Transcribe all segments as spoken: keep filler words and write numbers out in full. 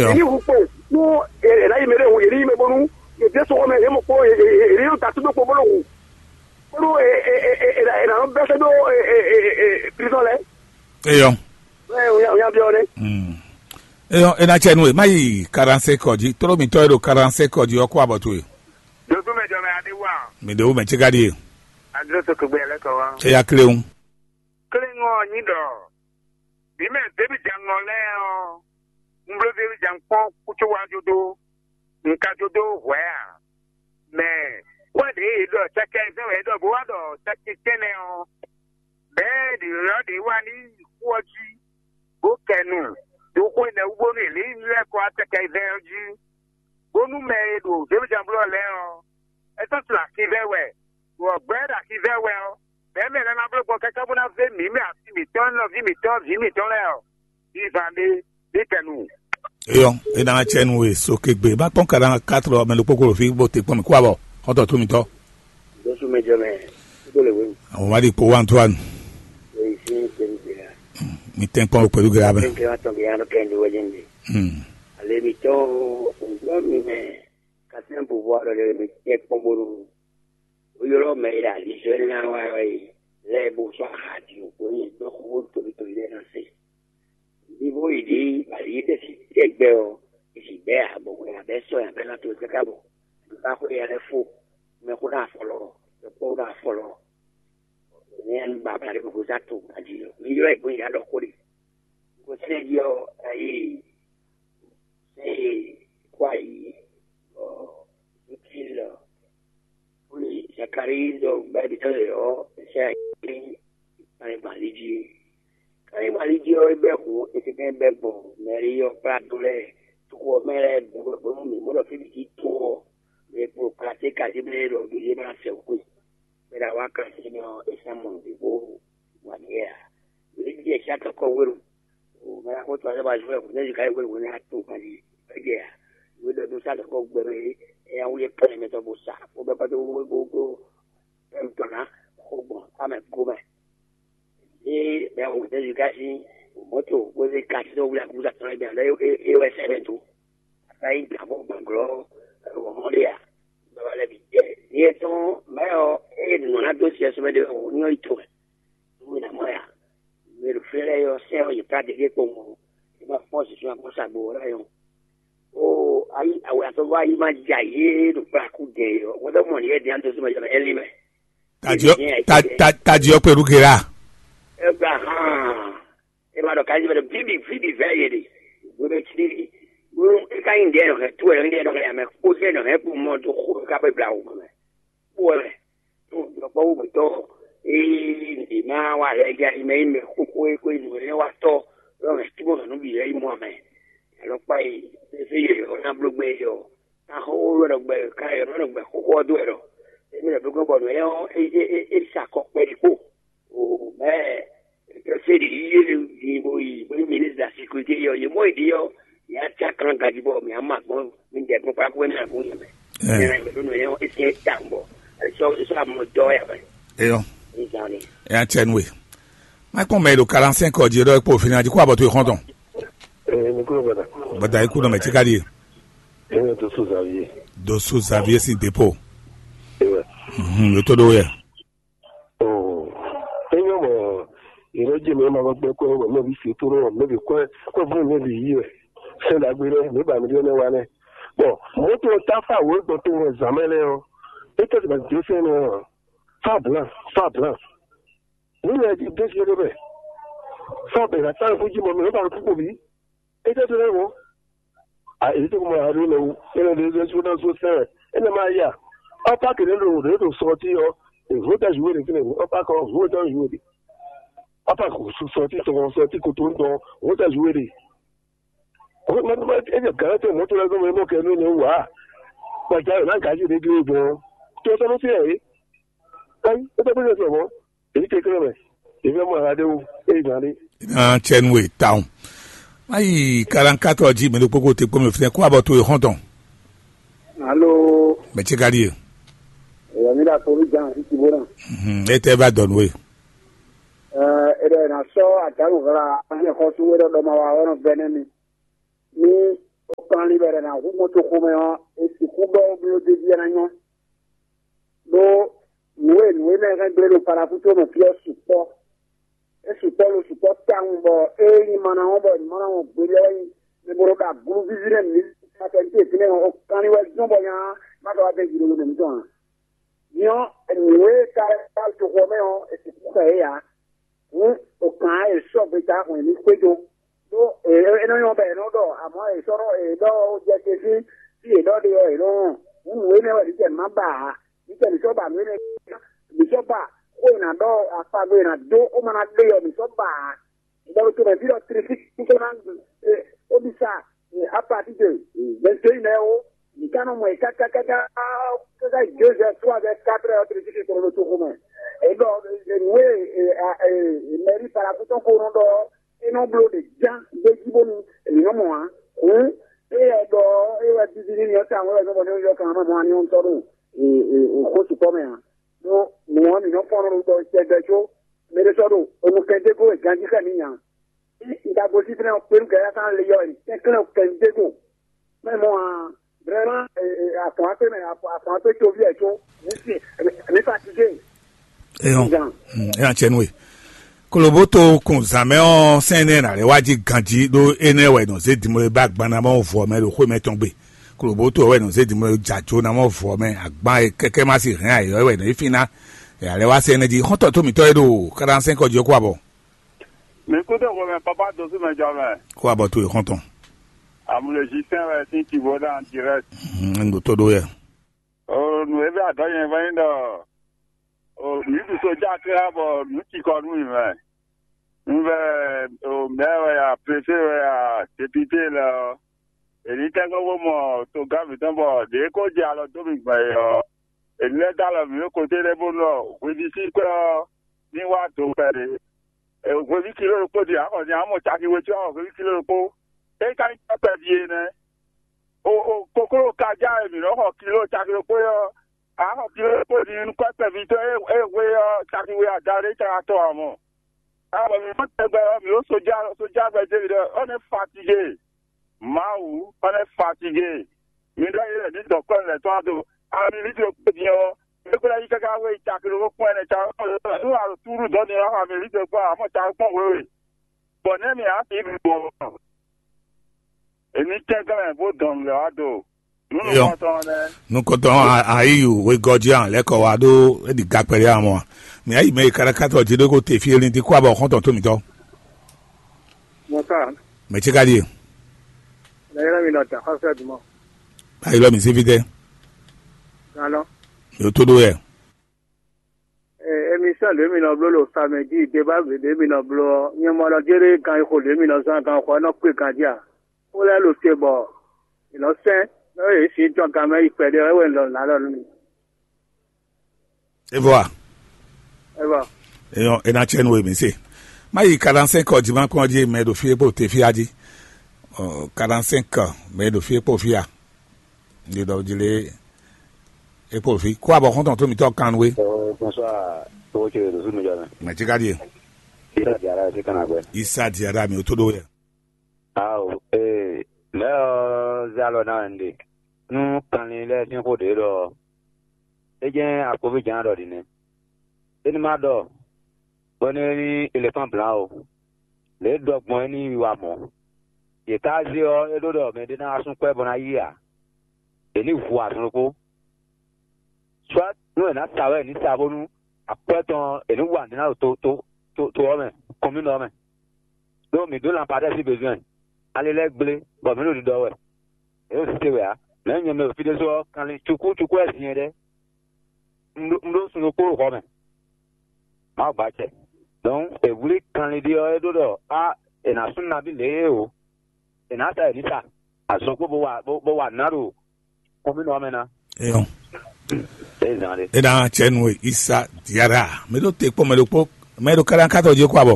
Yě ní hu kpo nú è nǎ yi mɛ ɖé hu, yě ní yi mɛ bónú yě dé sɔxɔ mɛ, yě mɔ kpó, yě ní ɖo ta tó kpo bó nɔ hu. Bónú è nǎ nɔ bɛ́ sɛ́ dó prizɔn lɛ́ɛ. Eyɔ. Nya biɔ nɛ. Hmm. Eyɔ, e na cɛ nu e ma yi quarante-cinq ɔ jí, tró mitɔ e ɖo quarante-cinq ɔ jí ɔ́ kó abɔ towe. Dodo mɛ jɔ mɛ adé wa. Mi ɖe wo mɛ cika ɖie. Adó to kegbe lɛ kɔ wa. Eya kle ŋu. Kle ŋɔ nyi ɖɔ. Bí mɛ débi jan ŋɔ lɛ ɔ. Un bló débi jan kpɔn kútó wa jó dó. Un ka jó dó hwɛ a. Mɛ kwɛ ɖě e ɖɔ cɛkɛ zɛn wɛ ɖɔ bó wá ɖɔ cɛkɛ tɛnɛ ɔ. Bɛɛ ɖě ɔ́ ɖě wá ní xu ɔ́ jí, bó kɛ nu, ɖo xó énɛ́ wú bónú è lě nyí lɛ́ kɔ wá tɛkɛ vɛ́ ɔ́ jí, bónú mɛ e ɖo zěmijanblɔ́ lɛ́ɛ ɔ́, é sɔ́ tunwun axivɛ́ wɛ, ɖo ɔ̌gbɛ́ ɖo axivɛ́ wɛ ɔ́, bɛ̌ mɛ lɛ́ɛ ná bló gbɔn káká bó ná zé mǐ mɛ asi mǐtɔn, nɔví mǐtɔn, vǐ mǐtɔn lɛ́ɛ ɔ́, vivan ɖé, ɖé kɛ nu. Eyɔ, e na cɛ nu e so kegbe ma kpɔn ka na katlɔ mɛ ɖokpó kolo fi bó te kpɔn mi kú abɔ xɔtɔ tó mitɔ. Dosu mɛ jɔ mɛ, kúdó le wéwu. Àwọn wá di kpó wá Antoine. Èyí sí ní tẹ̀lé gbéra. Mi tẹ́ ń pọ́n pẹ̀lú gẹ́gẹ́ abẹ́. Tẹ́ńtẹ́ wá tán bí yánú kẹ́hìndé wẹ́jẹ́ ń bì. Hmm. Àlẹ́ mi tán o, òǹgbọ́n mi mẹ́, kàtí ń bò bọ́ àlọ́ lẹ́rẹ́ mi tẹ́ pọ́n bónú. Ó yɔlɔ mɛ yi ali zɔ ní wá wá yi lɛ bó sɔ aha di o kò yi dɔ xó tóbi tóbi lɛ na se. Ní bó yi di ali yi tɛ si tɛ gbɛ o, isi bɛ a bɔ wɛ a bɛ sɔ ya bɛ na to kaka bɔ. Ba xó ya lɛ fo, mɛ xó na fɔlɔ, mɛ xó na fɔlɔ. Ní ɛn ba ba de ko sa to adi o. Ní yɔ ɛ gbé ya dɔ xó de. Ko sɛ di o, ayi. Sɛ kwa yi. Ɔ, utile. Wlí Zakalíi ɖɔ gbɛ́bítɔ́ lɛ́ɛ ɔ́, Ezáya kplé Kanyigban lí jí. Kanyigban lí jí ɔ́, é bɛ́ hǔn etɛ́nkɛ́n bɛ́ gbɔn Mɛlíɔ́ kplá dó lɛ́ɛ, toxo ɔ́ mɛ lɛ́ɛ bǐ wɛ bónú mǐ mɔ ɖɔ fí bǐ cí to ɔ́, mɛ e kpo Kalatíka jí mɛ e ɖɔ Jozée ná sɛ xwe, bɔ é ná wá Kalatíka mɛ ɔ́, é sɛ́ mɔ nǔɖé bó wa nǔ yɛ ǎ. Mǐ jɛ Ezáya tɔn kɔ hwenu, o mɛ ná xótó ɔ́ lɛ́ɛ wá zɔ́n wɛ hǔn nɛ́ ká yi hwenu hwenu ná to kan jí, é jɛ ǎ. Nǔ e ɖɔ dó sá tɔn kɔ gbɛ mɛ é, é ná wlí kplɛ́n mɛ tɔn bó sa, bó bɛ́ kpódó wó bó bó Ɛmtɔn ná xo gbɔn amɛ gomɛ. Ée mɛ wǒ Jezu ka sín mɔ̌to bó zé ka sín wlí akúza tɔn lɛ́ɛ bǐ ná ɖɔ é wɛ sɛ́ mɛ dó. Ata nyí gǎnbó gbɔ̌nglɔ́ wɔ̌mɔ́ ɖé a? Baba lɛ́ɛ bǐ jɛ. Nyɛ tɔn mɛ ɔ́, ée nǔ ná dó siɛ́ sɔ́ mɛ ɖé wɛ wǒ nyɔ́ yi tomɛ. Nú mì ná mɔ ya. Mɛ ɖo fí lɛ́ɛ ɔ́, sɛ́ ɔ́ yě ká ɖě kpowun ɔ́, yě ma fɔ́n zǐnzɔ́n akpɔ́ sa gbo ɔ́ ná nyɔ́. Oo, ayi awɛ atɔ́gbɔ́ ayi ma ja yě ɖo kplá kú dɛ ɔ́, wɛn ɖɔ mɔ ní yɛ dín adó sɔmɔ jɔmɛ ɛlí mɛ. Tadi ɔ ta- ta- tadi ɔ pẹ̀lú gera. Abraham, ẹ ma ɖɔ kájí bɛ ɖɔ bíbí bíbí vɛ yé de. Webe tí wúrú eka yin diɛ nɔ hɛ tó ɛ yin diɛ nɔ hɛ amɛ kó diɛ nɔ hɛ kó mɔ tó xó ká bɛ bla wò mɛ. Kpɔ́ wɛ mɛ. Ɖɔkpɔ́ wúgbɛ́tɔ́ ée ɖě má wa lɛ́ gé ayi mɛ yi mɛ xóxó é xwé nǔ énɛ́ wa tɔ́, ɖɔ mɛ túbɔ nǔ bǐ lɛ́ yi mɔ amɛ. Alɔkpa yi fí yě ɔ́ ná bló gbé yě ɔ́, ná xó wɛ ɖɔ gbɛ ka yě ɔ́ nɔ gbɛ xóxó ɔ́ dó wɛ ɖɔ. Émí lɛ bló gbɔn bɔ nǔ énɛ́ ɔ́ é é é é sa kɔ kpɛɖé kpo. O mɛ Fɛ́ ɖě yí é ɖi bo yi bó nyí ministre de la sécurité yɔ, yě mɔ yě ɖi ɔ́, yě á cá kan gaji bɔ mǐ á ma gbɔn mǐ dɛ gbɔn kpákpá mɛ àgbo yɛ mɛ. Ɛ. Ɛ mɛ ɖó nɔ yɛ é tiɛ ta bɔ é sɔ é sɔ amɔ dɔ yɛ mɛ. Eyɔ. Ní zan ni. Ɛ atsɛ nue. Má kpɔn mɛ ɖo quarante-cinq ɔ jí ɖɔ kpó fini adi kó abɔ tó ìxɔn tɔn. Ɛ ní kúrò gbọdọ. Gbọdọ ikú nɔ mɛ tí ká ɖíe. Ɛ ní tó so Xavier. Dó so Xavier sí dépôt. Ewɛ. Mhm, yóò tó ɖó yɛ. Oo, é nyɔ́ mɔ yě nɔ jɛ mɛ ma gbɛgbɛ kɔ wɛ mɛ bi fi tó nɔ mɛ bi kɔ kɔ fún mɛ bi yí wɛ. Sɛn ɖagbe lɛ mɛ ba mi ɖe nɛ wa nɛ. Bɔn mɔto ta fa wo gbɔ tó wɛ zan mɛ lɛ ɔ. É tɛ ba dé sɛn nɛ ɔ. Fa blan, fa blan. Ní lɛ di dé si ɖé bɛ. Fa bɛ na ta fún jí mɔ mɛ ba kú kò bí. É tɛ tó lɛ wɔ. A èyí tó kó mɔ àárín lɛ wú, é lɛ lɛ lɛ sódà só sɛn, é lɛ máa yà. Ɔ́pá kìíní ló ló ló sɔ tí ɔ, èvó tɛ zùwé de fínɛ, ɔ́pá kɔ vó tɛ zùwé de. Ɔ́pá kò sɔ tí tɔn sɔ tí kòtò ń tɔn, vó tɛ zùwé de. Ó máa tó máa é jẹ gàrẹ́ tẹ mọ́tò lẹ́gbẹ̀ẹ́ mọ́ kẹ́ ló lè wà á. Pàjá rẹ̀ náà gàájì lè dúró gan-an. Tí o sọ́nù sí ẹ̀ yìí, káyí, ó tẹ́ pé lè sọ̀rọ̀ mọ́. Èyí kékeré mɛ, èyí fẹ́ mọ ara ɖé wú, èyí gán ɖé. Iná tsɛnu e tawun. Mayi karankatɔ ji mɛ ɖokpó ko te kpɔmɛ fínɛ kó abɔ to e xɔntɔn. Alo. Mɛ tse ka ɖi e. Èyí mi ɖa kpolu jan títí bó náà. Mhm, e tɛ va dɔnu e. Ɛ ɛ ɖɛ na sɔ àdánù hla ányɛ xɔsú wé ɖɔ ɖɔ ma wa ɔnɔ bɛ nɛ mi. Ní Kpɛɖɛ ná hu mɔtoxomɛ ɔ́, è sixú ɖɔ bló déví ɔ́ ná nyɔ́. Ɖó nǔ e nǔ énɛ́ hɛn gblé ɖo Palakúto mɛ fí ɔ́ sukpɔ́. É sukpɔ́ ɖo sukpɔ́ tawun bɔ ée nyí mana ɔ́ bɔ nyí mana ɔ́ gbe lɛ́ wɛ nyí mɛ bo ɖo ɖo agluvíví nɛ́ mǐ. Afɛnti e fínɛ́ ɔ́, kanlin wɛ zɔ́n bɔ nya má ka wá dɛn jǐ ɖo nɔmɛ mǐtɔn ǎ. Nyɔ̌ nǔ e ka ka toxo ɔ́ mɛ ɔ́, è sixú xɛ yě ǎ. Hǔn, o kàn á è sɔ́ gbeta hwɛ̌n ní xwedó. Ɖó è é nɔ nyɔ́ bɔ è nɔ ɖɔ, amɔ̌ è sɔ́ nɔ è ɖɔ jɛ te sín fí è ɖɔ ɖe ɔ́, è nɔ hɔn. Hǔn nǔ énɛ́ wɛ mǐ tɛ má ba ǎ. Mǐ tɛ mǐ sɔ́ ba nǔ énɛ́, mǐ sɔ́ ba xó e nǎ ɖɔ, akpagbe e nǎ dó xó ma ná ɖe ɔ́, mǐ sɔ́ ba ǎ. Ɖɔ ɖo tomɛ ví ɖɔ tlifíkúkú ná, ó ɖi sa, apatí de vɛntéyi nɛ́ ó. Mǐ ka nɔ mɔ yě káká káká káká deux heures, trois heures, quatre heures, tlifíkú kplɔ́ ɖo toxo mɛ. É ɖɔ nǔ e mɛrí Palakútɔn ko nɔ ɖɔ ɔ́, é nɔ bló ɖě ján gbé jí bónú mǐ nɔ mɔ ǎ. Hǔn éyɛ́ ɖɔ ɔ́, é wɛ víví n'i ɔ́ tawun wɛ zɔ́n bɔ ní yɔ kan mɔ ani ɔ́ tɔ́ ɖo xó sukpɔ́ mɛ ǎ. Ɖó nǔ ɔ́, mǐ nɔ fɔ́n nɔ ɖɔ tɛgbɛ có mɛ ɖé sɔ́ ɖo onukɛn dé gó e ganjí xɛ mǐ nya. Cí un ka gosín fínɛ́ ɔ́, kpéɖu gɛ́ yá kan lé yɔ è kɛnklɛ́n kɛn dé gó. Mɛ mɔ a vraiment, afɔn akpé mɛ, afɔn akpé toví ɛ có mǐ sin mǐ fatigé. Eyɔn. Zan. Eyɔn cɛ nú we. Koloboto kun zǎn mɛ ɔ́, sɛn énɛ́ ná lɛ́ wá jí ganjí ɖó énɛ́ wɛ nɔ zé dimlé bá gbanna mɔ vɔ mɛ ɖo xwé mɛ tɔn gbe. Koloboto wɛ nɔ zé dimlé jǎ jó ná mɔ vɔ mɛ agban e kɛkɛ má si hɛn ayɔ wɛ nɔ yi fín ná. Ɛ alɛ wá sɛn énɛ́ jí xɔ́ntɔn tó mǐtɔn e ɖo kaɖansɛn kɔ jí ɔ́ kó abɔ. Mi kúdó hwemɛ papa dosú mɛ jɔ mɛ. Kó abɔ tó e xɔ́ntɔn. Amulejisɛn wɛ sín Tivoɖa direct. Un ɖo tó ɖó yɛ. O nǔ e bɛ adɔ nyɛ vɔ nyí ɖɔ o mǐ ɖu sojá klá bɔ nǔ cikɔ nú mì mɛ. Un vɛ o mɛ wɛ ya, préfé wɛ ya, député lɛ ɔ́, èlí tɛ́nkpɔ́n bó mɔ togán mǐtɔn bɔ ɖě ko jɛ alɔ dó mì gbɔn é ɔ́, èlí lɛ́ dó alɔ mǐ ɖo koté lɛ́ɛ bónú ɔ́, hweví sín kwɛ́ ɔ́ ní wá do kpɛɖé. Hweví kiló ɖokpó din ǎ xɔ din ǎ mɔ caki we có ǎ xɔ hweví kiló ɖokpó. É ka nyí kpɛ́ kpɛví é nɛ́. O o kokló ka já e mǐ nɔ́ xɔ kiló caki ɖokpó é ɔ́, ǎ xɔ kiló ɖokpó din nú kpɛ́ kpɛví tɔn e e hwe ɔ́ caki we ada ɖé caka tɔn ǎ mɔ. Ǎ bɔ mǐ mɔ tɛgbɛ ɔ́, mǐ ɖo sojá sojá gbɛ David ɔ́, ɔ́ nɛ́ fatigé. Mawu, ɔ́ nɛ́ fatigé. Mi ɖɔ yě lɛ́ ní dɔ̌nkpɛ́ lɛ̌ tɔn do. Ami lítlo kpé din ɔ́, é kplá yí káká wé caki ɖokpó kpɔ́n ɛnɛ caki kpɔ́n nú a ɖo túɖú dɔ̌n din ɔ́, ami lítlo kpɔ́n amɔ caki kpɔ́n wěwe. Bɔ nɛ́ mi á fi bɔ èmi tɛ́nkɛ́n mɛ bó dɔn nǔ lɛ́ wá do. Nǔ Eyɔn. Nukɔntɔn lɛ́ɛ. Nukɔntɔn ayiyu wegɔjian lɛkɔ wa ɖó eɖi gakpɛlɛ amɔ. Mi ayi mɛ yi kaɖakátɔ jí ɖó ko te fí elin dín kó abɔ xɔntɔn tó mǐtɔn. Mɔta, Mɛ ce ka ɖie? Lɛyɛlɛ mi nɔ da xɔsɛ dumɔ. Ayi lɔ mi sí fítɛ. Ganɔ. Yóò tó ɖó yɛ. Émission ɖě mi nɔ bló ɖo samedi, débat ɖě mi nɔ bló ɔ́, nyɛ mɔ lɔ jéré gan xo ɖě mi nɔ zɔn gan xɔ ɔ́ nɔ kpé ganjí a? Xó lɛ́ɛ ɖo te bɔ è nɔ sɛn, nɔ yě sin tɔn gan mɛ yi kpɛɖé ɔ́, é wɛ un ɖɔ nǔ ná ɖɔ nú mi. Evɔ a? Evɔ. Eyɔn, e na tsɛ nu e mi se. Ma yi quarante-cinq heures dimanche kɔn jí mɛ ɖo fie kpo te fia jí. Ɔ, quarante-cinq heures mɛ ɖo fie kpo fia. Ndi ɖɔ jí lé e kpo fi. Kó abɔ xɔntɔn tó mi tɔ kan we. Bonsoir. Tó ce ɖo sunu jɔ mɛ. Mɛ tí ka ɖie. Isa diara ti kana gbɛ. Isa diara mi o tó ɖo yɛ. Ao, ee, mɛ ɔ́ zé alɔ ná wɛ un ɖe. Nú kanlin lɛ́ɛ sín xó ɖě ɖɔ é jɛ́n akpoví jǎn ɖɔ ɖi nɛ́. É ní má ɖɔ bɔ ní é ní elefán blǎn o. Lě e ɖɔ gbɔn é ní yi wa mɔ̌. Yě ká zé ɔ́, é ɖó ɖɔ mɛɖé ná wá sún kwɛ́ bɔ ná yí ǎ. È ní hu azɔn ɖokpó. Soit nú è nǎ sa wɛ è ní sa bónú akwɛ́ tɔn è ní wa nǔ ná ɖo to to to to ɔ́ mɛ, kɔnmínɔ ɔ́ mɛ. Ɖó mǐ ɖó lanpadɛ́ sín bezwɛn. Ali lɛ́ɛ gblé, bɔ mǐ ɖo ɖiɖɔ wɛ. È ɖo site wɛ ǎ. Mɛ̌ nyɛ mɛ ɖo fí ɖésú ɔ́, kanlin cukú cukú wɛ sin nyɛ ɖɛ́. Un ɖó un ɖó sun ɖokpó ɖo xɔ mɛ. Mawu gbacɛ. Donc è wlí kanlin ɖé ɔ́, é ɖó ɖɔ á è nǎ sú nabí lě é o. È nǎ sa è ní sa. Azɔn kpó bó wa bó bó wa nǎ ɖo kɔnmínɔ ɔ́ mɛ ná. Eyɔn. É zán ɖé. E na tsɛ nu e isa diara. Mɛ ɖo te kpɔ mɛ ɖo kpɔ mɛ ɖo kala katɔ dzi kó abɔ.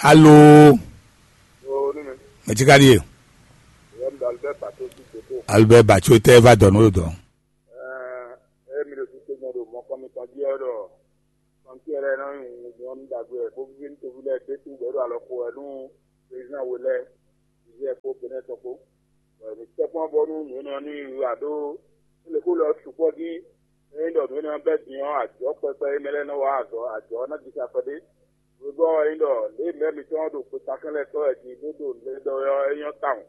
Alo. Mɛ tí ka ɖie? Albert Batso tɛ va dɔ nú dɔ. Emi ɖo sise gbɔn ɖo mɔkɔ mitɔn jí ɔ́ ɖɔ kɔntiɛ lɛ́ɛ nɔ nyi nyɔnu ɖagbe wɛ bó víví nú toví lɛ́ɛ ɖésú bɔ é ɖo alɔ xo wɛ nú président we lɛ́ɛ. yɛ kpó Benɛ́ɛ tɔn kpó. Bɔ mǐ tɛ́ kpɔ́n bónú nǔ énɛ́ ɔ́ ní yi wá ɖó lěxú lɔ sukpɔ́ jí. Ényí ɖɔ nǔ énɛ́ ɔ́ bɛ́ din ɔ́, ajɔ̌ kpɛkpɛ e mɛ lɛ́ɛ nɔ wa azɔ̌, ajɔ̌ ɔ́ ná jija kpɛɖé. Hwebɔ́ ɔ́, ényí ɖɔ lě e mɛ̌ mitɔn ɔ́ ɖo xwetakɛ́n lɛ́ɛ tɔ́ wɛ din bó ɖo nǔ lɛ́ɛ ɖɔ wɛ ɔ́, é nyɔ́ tawun.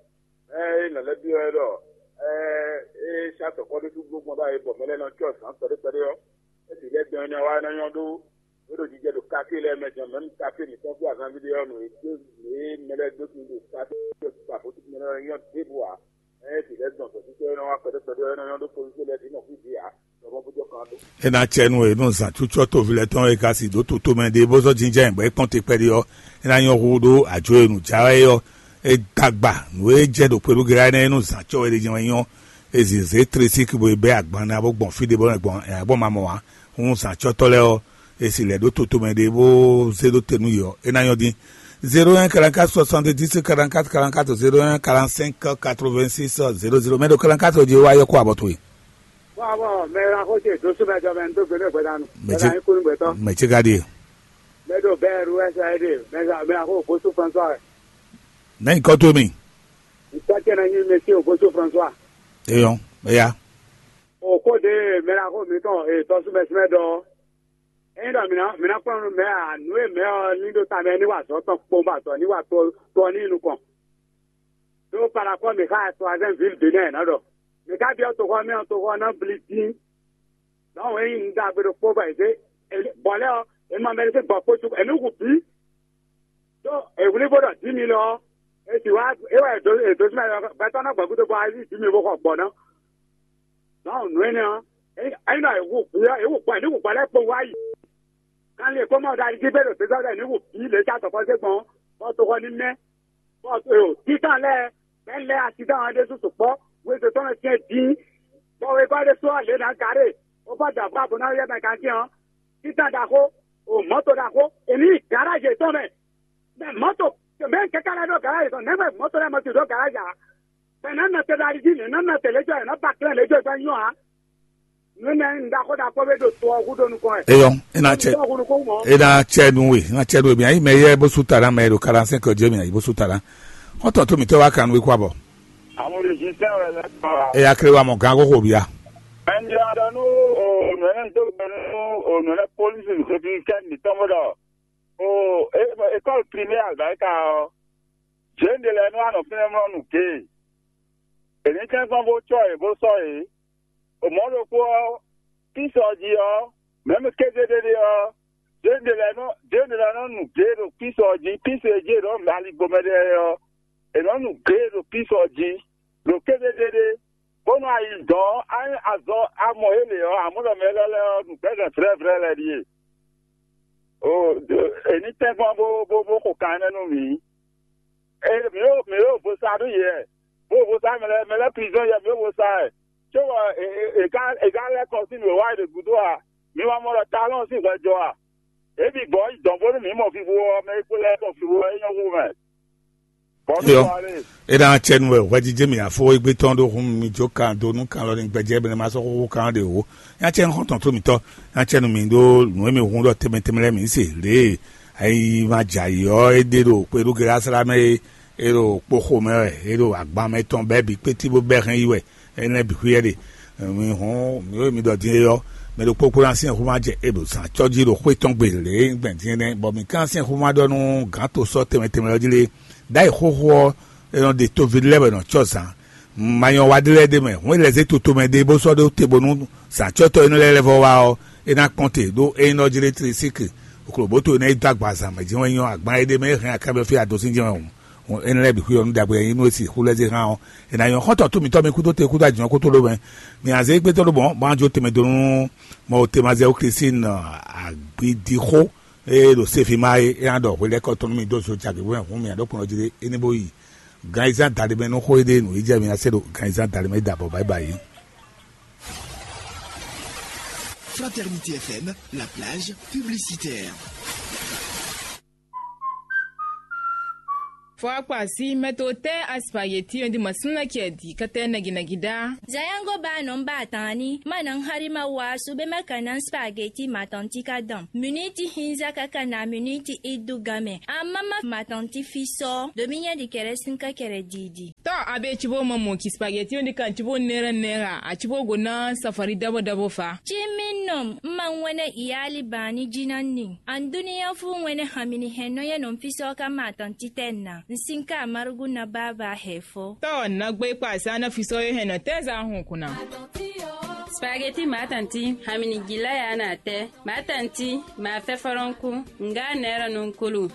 Ée nɔ lɛ́ byɔ́ wɛ ɖɔ ée é sá tɔ̌kɔ́ɖótú gbó gbɔn ɖ'ayǐ bɔ mɛ lɛ́ɛ nɔ cyɔ zǎn kpɛɖé kpɛɖé ɔ́, é bǐ lɛ́ dɔn énɛ́ ɔ́ wá é ná nyɔ́ ɖó é ɖo jijɛ ɖo kafí lɛ́ɛ mɛ din, mɛ̌m kafí mǐtɔn fí azanví ɖé ɔ́, nǔ e dó nǔ e mɛ lɛ́ɛ dó sin ɖo kafí ba bó mɛ lɛ́ɛ nyɔ́ ɖěbǔ ǎ. Ée bǐ lɛ́ dɔn gbɛ̌sísɛ́ é nɔ wá kpɛɖé kpɛɖé ɔ́, é nɔ nyɔ́ ɖó kpózízé lɛ́ɛ bǐ nɔ fí bǐ ǎ, ɖɔ mɔ bó jɔ kan ɖó. É ná cɛ nú we nú zǎn cúcɔ́ toví lɛ́ɛ tɔn e ka si ɖǒ toto mɛ ɖé bó zɔ́ jínjɔ́n ayǐ bɔ é kpɔ́n te kpɛɖé ɔ́, é ná nyɔ́ hú ɖó ajo e nǔ jǎ wɛ é ɔ́. É dó agba nǔ e jɛ ɖo kpelúgela énɛ́ é nú zǎn cɔ́ wɛ ɖé jɛ́n wɛ nyɔ́. É zǐn zě tresíki bo yi bɛ́ agban ná bó gbɔn fí ɖé bó nɔ gbɔn ɛ gbɔn ma mɔ ǎ. Hǔn zǎncɔ́tɔ́ lɛ́ɛ ɔ́, è si lɛ̌ ɖó toto mɛ ɖé bó zé ɖó te nú yě ɔ́, é ná nyɔ́ dín. Zéro un quarante-quatre soixante-dix quarante-quatre quarante-quatre, zéro un quarante-cinq quatre-vingt-six zéro zéro. Mɛ ɖo quarante-quatre jí wá yɔ́ kó abɔ towe. Bɔn bɔn mɛ la xo ce dó súnmɛ jɔ mɛ dó gbe ne gbɛdanu. Mɛ ce Bɛna yín kúnú gbɛtɔ. Mɛ ce ka ɖie? Mɛ ɖo bɛɛ ru ɛsɛ ɛ ɖe mɛ la mɛ la xo bó sú François. Nɛ nyí kɔ towe mi. Ntɔ́ ce na nyí mɛ ce o bó sú François. Eyɔn, eya. O kó de mɛ la xo mi tɔn e tɔ súnmɛ súnmɛ dɔ. Eyin ɖɔ mi na mi na kplɔn nú mɛ a nǔ e mɛ ɔ ní ɖo ta mɛ ní wa azɔ̌ tɔn kpowun bɔ azɔ̌ ní wa to to ɔ́ ní yi nukɔn. Ɖó Palakɔ́ Mixáa Troisième Ville Bénin ná ɖɔ: "Mi ka byɔ́ toxɔ mɛ ɔ́, toxɔ ɔ́ ná blí dín." Nɔ̌ hwɛ́n nyí nǔ ɖagbe ɖokpó bɔ è zě bɔ̌ lɛ́ɛ ɔ́, è nɔ mɛ ɖé sín gbɔ kpó cukú, è nǔ hu bǐ. Ɖó è wlí bó ɖɔ dǐ mi lɔ ɔ́, è sì wá é wɛ è dǒ è dǒ sín mɛ gbɛtɔ́ ná gbɔ gúdo bɔ ayí dǐ mi bó xɔ gbɔ ná. Nɔ̌ nǔ énɛ́ ɔ́, é nyí ɖɔ è hu bǐ ɔ́, è hu gbɔ è ní hu gbɔ lɛ́ɛ kpowun wá yi. Kanlin e kó mɔ ɖo ali jí bɛ́ ɖo gbězɔ́ ɖɔ è ní hu bǐ lě e ca tɔkɔ zé gbɔn ɔ́, bɔ toxɔ ní mɛ́. Bɔ títàn lɛ́ɛ, mɛ̌ lɛ́ɛ asidán ɔ́ ɖésú sukpɔ́, wezun tɔn nɔ syɛ́n dín, bɔ wegɔ́ ɖésú ɔ́ lě nǎ garé, bó fɔ́ da bó ná yɔ́ mɛ gantín ɔ́, títàn ɖaxó, o mɔ̌to ɖaxó, è ní yi garázi yětɔn mɛ. Mɛ mɔ̌to, mɛ kɛ́kɛ́ lɛ́ɛ ɖó garázi tɔn, nɛ̌ mɛ mɔ̌to lɛ́ɛ mɔ ti ɖó garázi ǎ? Mɛ nǎ nɔ te ɖo ali jí, mɛ nǎ nɔ te lějɔ, è nǎ ba klɛ́n lějɔ gbɛ́ nyɔ́ ǎ. Nǔ énɛ́ nyí nǔ ɖaxó ɖaxó ɖé ɖo to ɔ́ hú ɖó nukɔn wɛ. Eyɔn, é ná cɛ Tɔ́ hú nukún mɔ̌. É ná cɛ nú we, é ná cɛ nú we. Mi ayí mɛ yɛ bó sú ta ná mɛ ɖo quarante-cinq ɔ́ jɛ mi ayí bó sú ta ná. Xɔ́ntɔn tó mǐtɔn wá kan nú we kó abɔ. Àwọn olùṣiṣẹ́ rẹ̀ lẹ́kọ̀ọ́. É yá kéré wá mɔ gán kókó bíá. Ẹnjẹ ọdọ nú ònùẹ tó gbẹnu ònùẹ pólísì kékeré kẹ́ni tọ́mọ́dọ̀. O ékọ́lù primaire àgbáríkà ọ́. Jěǹde lɛ́ɛ nú ànɔ fínɛ́ mlɔ́ nǔ géé. Èní kɛ́nkɔ́n bó cɔ́ yě bó sɔ́ yě. Mɔ̌ ɖokpó ɔ́, Klísu ɔ́ jí ɔ́, mɛ̌ mɛ kéze ɖé ɖe ɔ́, Jěɖelɛnɔ Jěɖelɛnɔ nu gě ɖo Klísu ɔ́ jí, Klísu e jí è nɔ mɛ aligbomɛ lɛ́ɛ ɔ́, è nɔ nu gě ɖo Klísu ɔ́ jí, ɖo kéze ɖé ɖé, bónú ayi dɔn ɔ́, á nyí azɔ amɔ yě lě ɔ́, amɔ̌ ɖɔ mɛ élɔ́ lɛ́ɛ ɔ́, nǔgbɛ́zɛn vlɛ̌vlɛ́ lɛ́ɛ ɖíe. O, è ní tɛ́nkpɔ́n bó bó bó xo kan énɛ́ nú mǐ. E mǐ ɖo mǐ ɖo vo sa nú yě wɛ, bó vo sa mɛ lɛ́ɛ mɛ lɛ́ɛ prison yɛ mǐ ɖo vo sa wɛ. Cóbɔ è è è ka è ka lɛ́ kɔ sín nǔ e wa è ɖe gúdo a? Mi ma mɔ ɖɔ talɔn sín hwɛ jɔ a? Ě bǐ gbɔ yi dɔn bónú mǐ mɔ vivo ɔ́, mɛ e kpo lɛ́ɛ mɔ vivo ɔ́, é nyɔ́ hú mɛ. Bɔ mǐ Eyɔ, kɔ alé. E ná cɛ nu wɛ hwɛjijɛ mi afo egbe tɔn ɖo hun mi jó kan do nú kan lɔ ní gbɛjɛ bɛnɛ ma sɔ́ xóxó kan ɖe o. Nya cɛ nu xɔntɔn tó mitɔ, nya cɛ nu mi ɖó nǔ e mi hun ɖɔ tɛmɛ tɛmɛ lɛ mi se lě e ayi ma dza yi ɔ́, é ɖe ɖo kpeɖu gɛlɛ asla mɛ e é ɖo kpoxo mɛ wɛ, é ɖo agban mɛ tɔn bɛ́ bǐ kpétí bó bɛ́ hɛn yi wɛ, énɛ́ bǐ xwíyɛ́ ɖe. Mi hɔn mi ɖɔ din é ɔ́, mɛ ɖokpó kpó ná syɛ́n xó ma jɛ é ɖo zǎn cɔ́ jí ɖo xwé tɔn gbe lě e gbɛn din é nɛ́, bɔ mǐ ka ná syɛ́n xó ma ɖɔ nú gǎn to sɔ́ tɛnmɛ tɛnmɛ ɔ́ jí lé. Ɖ'ayǐ xóxó ɔ́, é nɔ ɖe tóví lɛ́ɛ wɛ nɔ cɔ́ zǎn. Ma nyɔ wa ɖé lɛ́ɛ ɖ'é mɛ, hǔn é lɛ́ zé toto mɛ ɖé bó sɔ́ ɖó te bónú zǎncɔ́tɔ́ énɛ́ lɛ́ɛ lɛ́ vɔ wá ɔ́, é ná kpɔ́n te, ɖó ényí nɔ jlé tlesíki, okloboto énɛ́ e dó agba zǎn mɛ jɛ́n wɛ nyɔ́ agban e ɖ'é mɛ é hɛn akábɛ́ fí adosín jɛ́n wɛ hǔn. Hǔn énɛ́ lɛ́ɛ bǐ xwí ɔ́ nú ɖagbe e nyí nú e sixú lɛ́ zé hán ɔ́, è nǎ nyɔ́ xɔ́ntɔn tó mǐtɔn mi kúdó te kúdó ajǐnɔ kútó ɖó mɛ. Mi azé gbétɔ́ ɖó mɔ̌, bó ná jó tɛnmɛ dó nú mɔ Temazɛwu Klísin agbidixó e ɖo Sefima é, é ná ɖɔ hwelɛ́kɔ tɔn nú mi dó zo jagě bó mɛ hǔn mi ǎ ɖó kplɔ́n jí ɖé, é ní bó yi ganyizán daɖé mɛ nú xó e ɖe nǔ yi jɛ mi ná se ɖo ganyizán daɖé mɛ da bɔ báyibáyi. Fraternité F M, la plage publicitaire. Fɔ akpa sí mɛ to tɛ́ aspageti ɔ́ di ma súnna kɛ di kɛtɛ nɛgínɛgí dá. Zayango ba nɔ ba tani ma na hari ma wa su be ma kana spageti ma tanti ka dan. Miniti hinza kaka na miniti idu game. Amama ma tanti fisɔ. Dominya di kɛrɛ sin ka kɛrɛ didi. Tɔ abe ci bo ma mɔ ki spageti ɔ́ di kan ci bo nɛra nɛra a ci bo go na safari dabo dabo fa. Ci mi nɔ ma ŋwɛnɛ iyali bani jina ni. An duniya fu ŋwɛnɛ hamini hɛn nɔ yɛ nɔ fisɔ ka ma tanti tɛ na. N sin ka marugu na baba hɛ fɔ. Tɔ na gbe kpa sa na fisɔ ye hɛn nɔ tɛ za hun kuna. Spageti ma tanti hamini gila ya na tɛ. Ma tanti ma fɛ fɔlɔnku. Nga nɛra nɔ kulu.